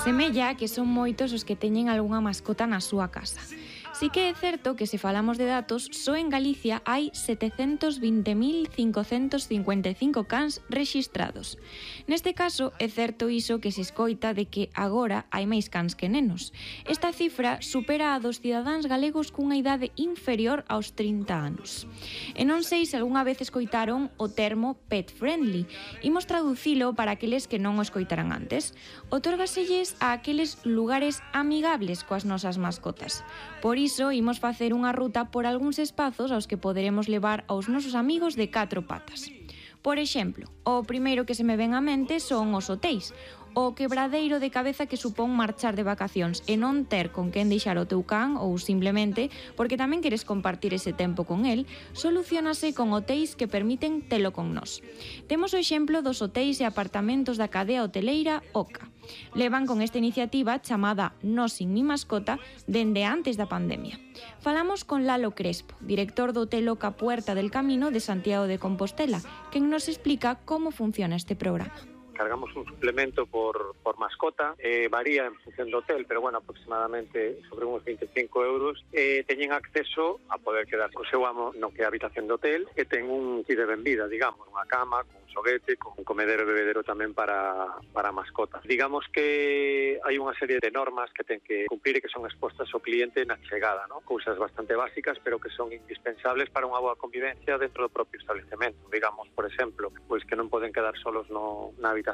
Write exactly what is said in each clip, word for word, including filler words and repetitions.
Semella que son moitos os que teñen algunha mascota na súa casa. Si que é certo que se falamos de datos, só en Galicia hai setecentos vinte mil cincocentos cincuenta e cinco cans rexistrados. Neste caso, é certo iso que se escoita de que agora hai máis cans que nenos. Esta cifra supera a dos cidadáns galegos cunha idade inferior aos trinta anos. E non sei se algunha vez escoitaron o termo pet friendly. Imos traducilo para aqueles que non o escoitaran antes. Otórgaselles a aqueles lugares amigables coas nosas mascotas. Por iso, imos facer unha ruta por algúns espazos aos que poderemos levar aos nosos amigos de catro patas. Por exemplo, o primeiro que se me ven á mente son os hotéis, o quebradeiro de cabeza que supón marchar de vacacións e non ter con quen deixar o teu can ou simplemente porque tamén queres compartir ese tempo con el, solucionase con hotéis que permiten telo con nós. Temos o exemplo dos hotéis e apartamentos da cadea hoteleira Oca. Levan con esta iniciativa chamada Nós sin mi mascota dende antes da pandemia. Falamos con Lalo Crespo, director do Hotel Oca Puerta del Camino de Santiago de Compostela, quen nos explica como funciona este programa. Cargamos un suplemento por, por mascota, eh, varía en función do hotel, pero bueno, aproximadamente sobre uns veinticinco euros. Eh, teñen acceso a poder quedar co seu amo no que é a habitación do hotel, que ten un kit de benvida, digamos, unha cama, con un xoguete, con un comedero e bebedero tamén para, para mascotas. Digamos que hai unha serie de normas que ten que cumplir e que son expostas ao cliente na chegada, ¿no? Cousas bastante básicas, pero que son indispensables para unha boa convivencia dentro do propio establecemento. Digamos, por exemplo, pois que non poden quedar solos no, na habitación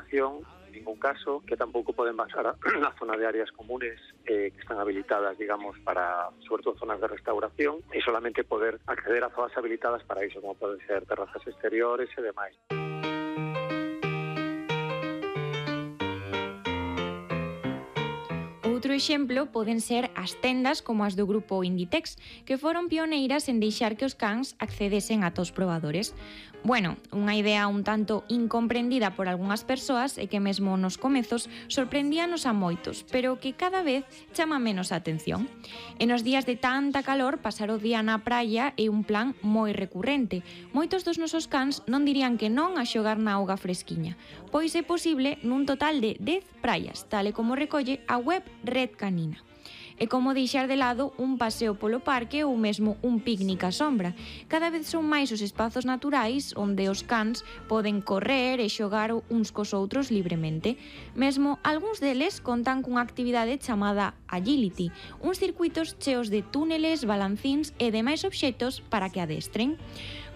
en ningún caso, que tampouco poden pasar na zona de áreas comunes eh, que están habilitadas, digamos, para, sobre todo, zonas de restauración, e solamente poder acceder a zonas habilitadas para iso, como poden ser terrazas exteriores e demais. Outro exemplo poden ser as tendas como as do grupo Inditex, que foron pioneiras en deixar que os cans accedesen a tos probadores. Bueno, unha idea un tanto incomprendida por algunhas persoas e que mesmo nos comezos sorprendíanos a moitos, pero que cada vez chama menos a atención. E nos días de tanta calor, pasar o día na praia é un plan moi recurrente. Moitos dos nosos cans non dirían que non a xogar na auga fresquiña, pois é posible nun total de dez praias, tal e como recolle a web Red Canina. É como deixar de lado un paseo polo parque ou mesmo un picnic á sombra. Cada vez son máis os espazos naturais onde os cans poden correr e xogar uns cos outros libremente. Mesmo algúns deles contan cunha actividade chamada Agility, uns circuitos cheos de túneles, balancíns e demais obxectos para que adestren.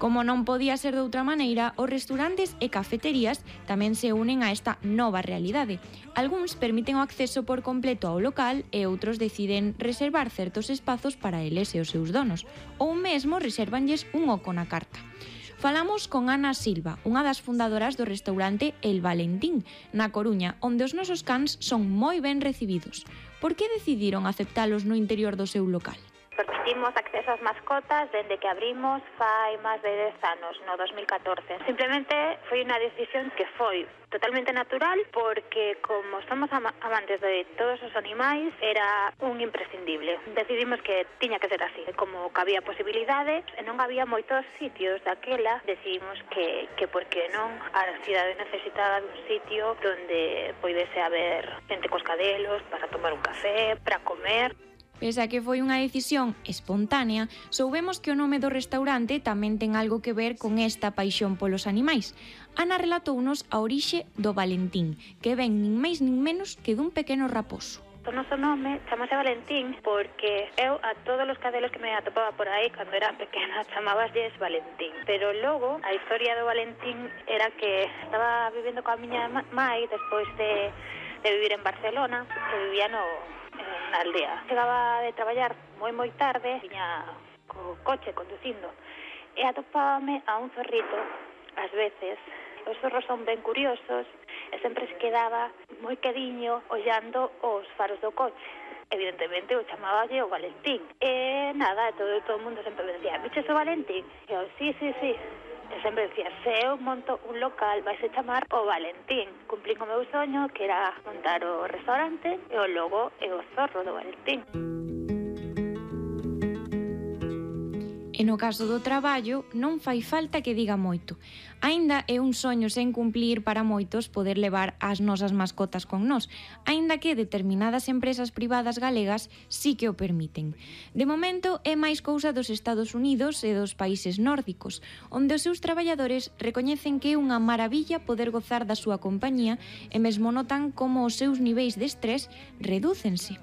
Como non podía ser de outra maneira, os restaurantes e cafeterías tamén se unen a esta nova realidade. Algúns permiten o acceso por completo ao local e outros deciden reservar certos espazos para eles e os seus donos, ou mesmo resérvanlles un oco na carta. Falamos con Ana Silva, unha das fundadoras do restaurante El Valentín, na Coruña, onde os nosos cans son moi ben recibidos. Por que decidiron aceptalos no interior do seu local? Permitimos acceso ás mascotas dende que abrimos fai máis de dez anos, no dos mil catorce. Simplemente foi unha decisión que foi totalmente natural porque como somos am- amantes de todos os animais era un imprescindible. Decidimos que tiña que ser así. Como que había posibilidades e non había moitos sitios daquela, decidimos que, que por que non a cidade necesitaba dun sitio donde poidese haber xente cos cadelos para tomar un café, para comer. Pese a que foi unha decisión espontánea, soubemos que o nome do restaurante tamén ten algo que ver con esta paixón polos animais. Ana relatounos a orixe do Valentín, que ven nin máis nin menos que dun pequeno raposo. O noso nome chamase Valentín porque eu a todos os cadelos que me atopaba por aí cando era pequena chamabasles Valentín. Pero logo a historia do Valentín era que estaba vivendo coa miña mai despois de, de vivir en Barcelona, que vivía no na aldea. Chegaba de traballar moi moi tarde, viña co coche conducindo e atopábame a un zorrito ás veces. Os zorros son ben curiosos e sempre se quedaba moi quediño ollando os faros do coche. Evidentemente o chamaballe o Valentín. E nada, todo, todo o mundo sempre me decía, viches o Valentín? E eu, sí, sí, sí. E sempre decía, se eu monto un local vai se chamar o Valentín. Cumplín o meu soño, que era montar o restaurante e o logo e o zorro do Valentín. E no caso do traballo, non fai falta que diga moito. Aínda é un soño sen cumplir para moitos poder levar as nosas mascotas con nós, aínda que determinadas empresas privadas galegas sí que o permiten. De momento, é máis cousa dos Estados Unidos e dos países nórdicos, onde os seus traballadores recoñecen que é unha maravilla poder gozar da súa compañía e mesmo notan como os seus niveis de estrés redúcense.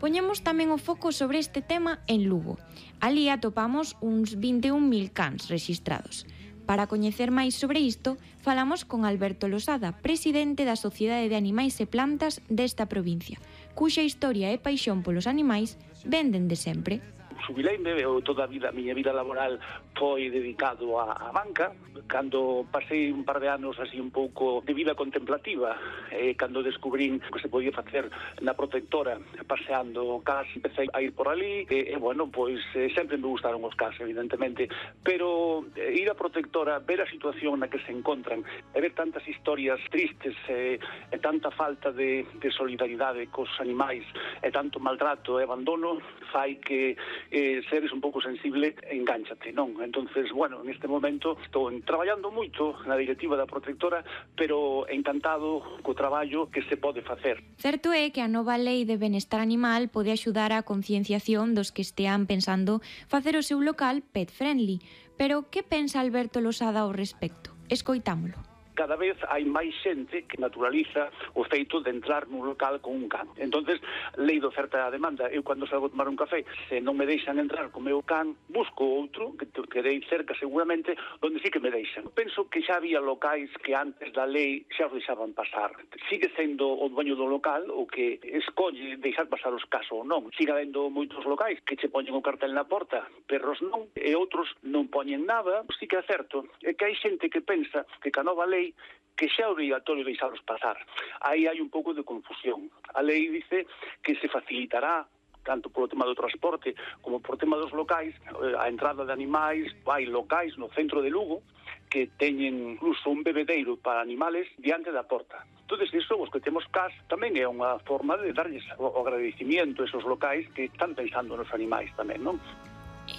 Poñemos tamén o foco sobre este tema en Lugo. Alí atopamos uns vinte e un mil cans rexistrados. Para coñecer máis sobre isto, falamos con Alberto Losada, presidente da Sociedade de Animais e Plantas desta provincia, cuxa historia e paixón polos animais venden de sempre. Xubileime, eu toda a vida, a miña vida laboral foi dedicado á, á banca. Cando pasei un par de anos así un pouco de vida contemplativa, eh, cando descubrín que se podía facer na protectora paseando cas, empecé a ir por ali, e, e bueno, pois eh, sempre me gustaron os cas, evidentemente, pero eh, ir á protectora, ver a situación na que se encontran, e ver tantas historias tristes, eh, e tanta falta de, de solidaridade cos animais, e tanto maltrato e abandono, fai que eh, seres un pouco sensible, engánchate, non? Entonces, bueno, neste momento estou traballando moito na directiva da protectora, pero encantado co traballo que se pode facer. Certo é que a nova lei de benestar animal pode axudar á concienciación dos que estean pensando facer o seu local pet friendly, pero que pensa Alberto Losada ao respecto? Escoitámolo. Cada vez hai máis xente que naturaliza o feito de entrar nun local con un can. Entonces, lei de oferta e demanda. Eu, cando salgo a tomar un café, se non me deixan entrar co meu can, busco outro, que quedei cerca seguramente, onde sí que me deixan. Penso que xa había locais que antes da lei xa os deixaban pasar. Sigue sendo o dueño do local o que escolle deixar pasar os casos ou non. Sigue habendo moitos locais que che poñen o cartel na porta, perros non, e outros non poñen nada. Sí que é certo, é que hai xente que pensa que ca nova lei que xa é obrigatorio deixalos pasar. Aí hai un pouco de confusión. A lei dice que se facilitará tanto polo tema do transporte como por tema dos locais, a entrada de animais. Hai locais no centro de Lugo que teñen incluso un bebedeiro para animales diante da porta. Entón, iso, os que temos cas, tamén é unha forma de darlles o agradecimiento a esos locais que están pensando nos animais tamén, non?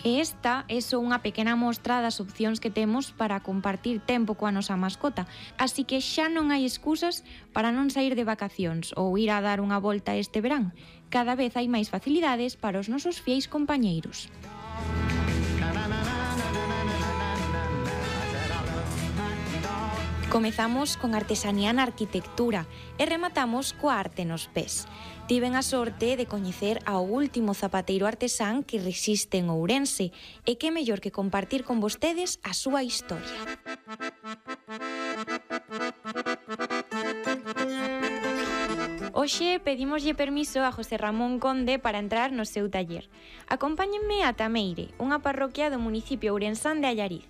Esta é só unha pequena mostra das opcións que temos para compartir tempo coa nosa mascota, así que xa non hai excusas para non sair de vacacións ou ir a dar unha volta este verán. Cada vez hai máis facilidades para os nosos fieis compañeiros. Comezamos con artesanía na arquitectura e rematamos coa arte nos pés. Tiven a sorte de coñecer ao último zapateiro artesán que resiste en Ourense, e que mellor que compartir con vostedes a súa historia. Hoxe pedimoslle permiso a José Ramón Conde para entrar no seu taller. Acompáñenme a Tameire, unha parroquia do municipio ourensán de Allariz.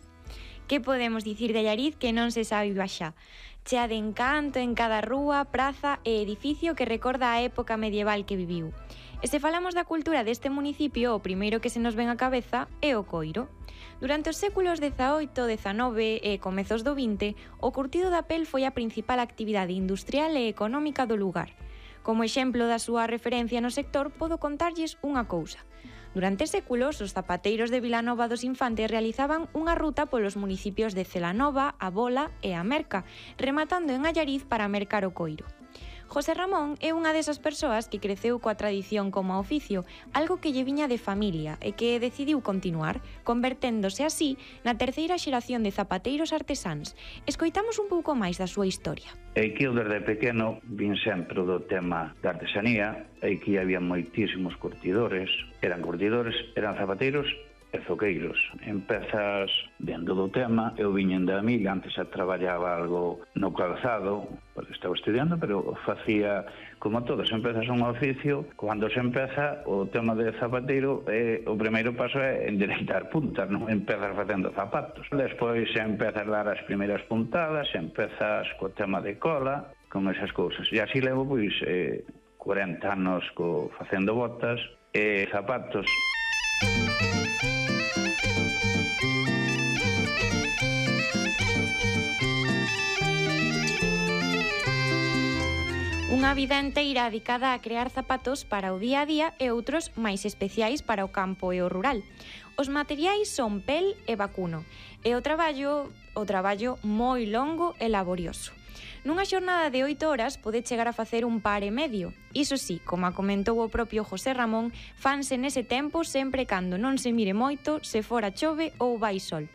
Que podemos dicir de Allariz que non se sabe xa? Chea de encanto en cada rúa, praza e edificio que recorda a época medieval que viviu. E se falamos da cultura deste municipio, o primeiro que se nos ven á cabeza é o coiro. Durante os séculos dezaoito, dezanove e comezos do vinte, o curtido da pel foi a principal actividade industrial e económica do lugar. Como exemplo da súa referencia no sector, podo contarlles unha cousa. Durante séculos, os zapateiros de Vilanova dos Infantes realizaban unha ruta polos municipios de Celanova, A Bola e A Merca, rematando en Allariz para mercar o coiro. José Ramón é unha desas persoas que creceu coa tradición como oficio, algo que lle viña de familia e que decidiu continuar, converténdose así na terceira xeración de zapateiros artesáns. Escoitamos un pouco máis da súa historia. E que eu desde pequeno vin sempre do tema da artesanía, e que había moitísimos curtidores, eran curtidores, eran zapateiros e zoqueiros. Empezas dentro do tema, eu viñen da amiga, antes xa traballaba algo no calzado, porque estaba estudiando, pero facía como todos, empezas un oficio, cando se empeza o tema de zapateiro, eh, o primeiro paso é endereitar puntas, non empezas facendo zapatos. Despois empezas a dar as primeiras puntadas, empezas co tema de cola, con esas cousas. E así levo, pois, eh, cuarenta anos co, facendo botas e zapatos. Unha vida enteira dedicada a crear zapatos para o día a día e outros máis especiais para o campo e o rural. Os materiais son pel e vacuno, e o traballo, o traballo moi longo e laborioso. Nunha xornada de oito horas pode chegar a facer un par e medio. Iso sí, como comentou o propio José Ramón, fanse nese tempo sempre cando non se mire moito, se fora chove ou vai sol.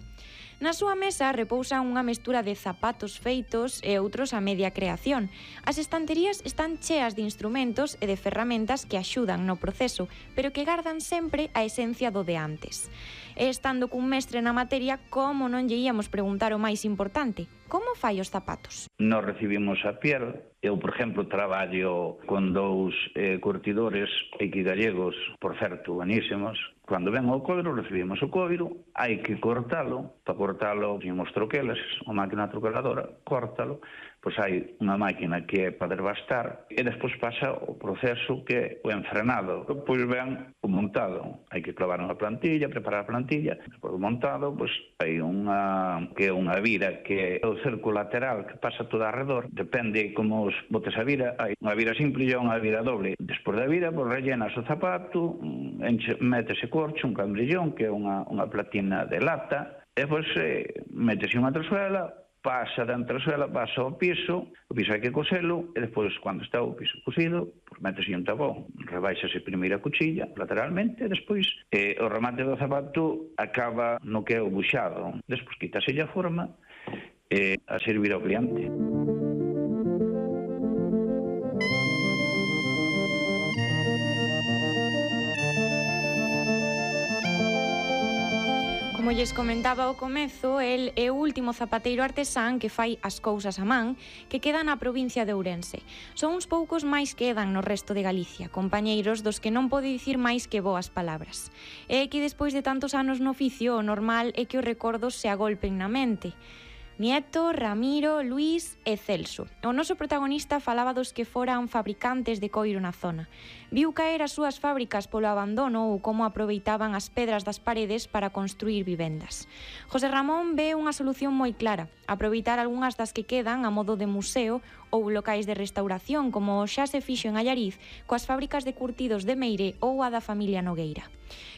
Na súa mesa repousan unha mestura de zapatos feitos e outros a media creación. As estanterías están cheas de instrumentos e de ferramentas que axudan no proceso, pero que gardan sempre a esencia do de antes. E estando cun mestre na materia, como non lle íamos preguntar o máis importante? Como fai os zapatos? Nos recibimos a piel. Eu, por exemplo, traballo con dous eh, curtidores aquí gallegos, por certo, buenísimos. Cando ven o coiro, recibimos o coiro, hai que cortalo. Para cortalo, temos troquelas, unha máquina troqueladora, córtalo. Pois hai unha máquina que é para desbastar e despois pasa o proceso que é o enfrenado. Pois ven o montado. Hai que clavar unha plantilla, preparar a plantilla. Despois do montado, pois hai unha que é unha vira que é o cerco lateral que pasa toda arredor. Depende como os botes a vira. Hai unha vira simple e unha vira doble. Despois da vira, pois rellenas o zapato, enche, metese corcho, un cambrillón, que é unha, unha platina de lata, e pois eh, metese unha tresuela, pasa da entresuela, pasa ao piso, o piso hai que coselo, e despois, cando está o piso cosido, pues, métese un tabón, rebaixase primeiro a cuchilla, lateralmente, e despois eh, o remate do zapato acaba no que é o buxado. Despois quítase a forma e eh, a servir ao cliente. Como lles comentaba ao comezo, el é o último zapateiro artesán que fai as cousas a man que queda na provincia de Ourense. Son uns poucos máis que quedan no resto de Galicia, compañeiros dos que non pode dicir máis que boas palabras. É que despois de tantos anos no oficio, o normal é que os recordos se agolpen na mente. Nieto, Ramiro, Luís e Celso. O noso protagonista falaba dos que foran fabricantes de coiro na zona. Viu caer as súas fábricas polo abandono ou como aproveitaban as pedras das paredes para construir vivendas. José Ramón ve unha solución moi clara, aproveitar algunhas das que quedan a modo de museo ou locais de restauración, como xa se fixo en Allariz coas fábricas de curtidos de Meire ou a da familia Nogueira.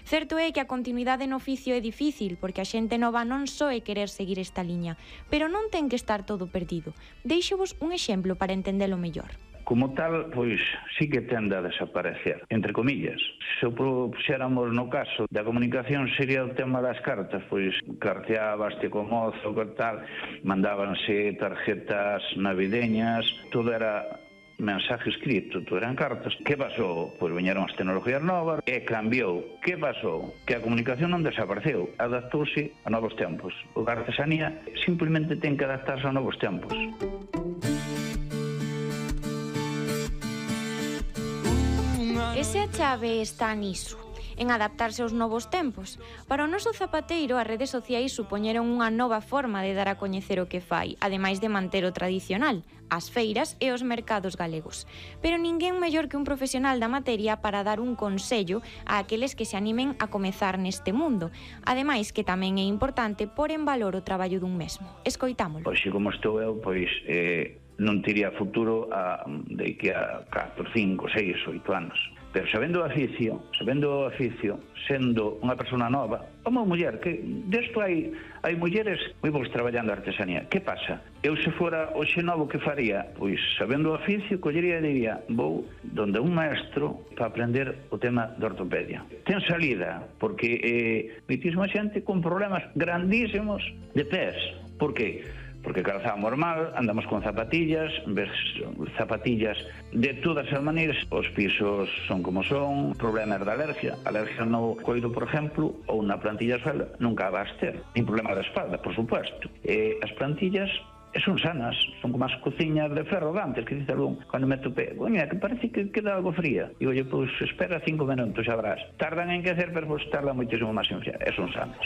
Certo é que a continuidade no oficio é difícil, porque a xente nova non só é querer seguir esta liña, pero non ten que estar todo perdido. Deixo-vos un exemplo para entendelo mellor. Como tal, pois, sí que tende a desaparecer, entre comillas. Se o puxéramos no caso da comunicación sería o tema das cartas, pois carteabaste co mozo, co tal, mandábanse tarjetas navideñas, todo era mensaje escrito, todo eran cartas. Que pasou? Pois viñeron as tecnologías novas e cambiou. Que pasou? Que a comunicación non desapareceu, adaptouse a novos tempos. O da artesanía simplemente ten que adaptarse a novos tempos. Ese a chave está niso, en adaptarse aos novos tempos. Para o noso zapateiro, as redes sociais supoñeron unha nova forma de dar a coñecer o que fai, ademais de manter o tradicional, as feiras e os mercados galegos. Pero ninguén mellor que un profesional da materia para dar un consello a aqueles que se animen a comezar neste mundo. Ademais, que tamén é importante pôr en valor o traballo dun mesmo. Escoitámolo. Pois, como estou eu, pois... Eh... non tería futuro a, de que a catro, cinco, seis, oito anos. Pero sabendo o oficio, sabendo o oficio, sendo unha persona nova, como muller, que desto hai, hai mulleres moi bons traballando a artesanía. Que pasa? Eu se fora hoxe novo que faría? Pois sabendo o oficio, collería e diría, vou donde un maestro para aprender o tema de ortopedia. Ten salida, porque eh, mitísima xente con problemas grandísimos de pés. Por que? Porque calzamos mal, andamos con zapatillas, ves zapatillas de todas as maneiras, os pisos son como son, problemas de alergia, alergia no coiro, por exemplo, ou na plantilla suela, nunca vas ter, nin problema da espalda, por supuesto. E as plantillas son sanas, son como as cociñas de ferro de antes, que dice algún, cando me topé, coña, que parece que queda algo fría. Digo, oye, pois espera cinco minutos, xa verás. Tardan en quecer, pero pois tardan moitísimo máis en enfriar, e son sanas.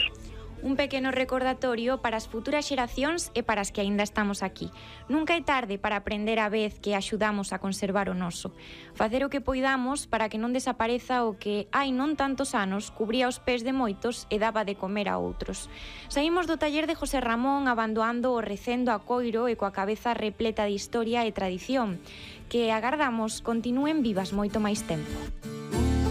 Un pequeno recordatorio para as futuras xeracións e para as que aínda estamos aquí. Nunca é tarde para aprender a vez que axudamos a conservar o noso. Facer o que poidamos para que non desapareza o que hai non tantos anos cubría os pés de moitos e daba de comer a outros. Saímos do taller de José Ramón abandoando o recendo a coiro e coa cabeza repleta de historia e tradición, que agardamos continúen vivas moito máis tempo.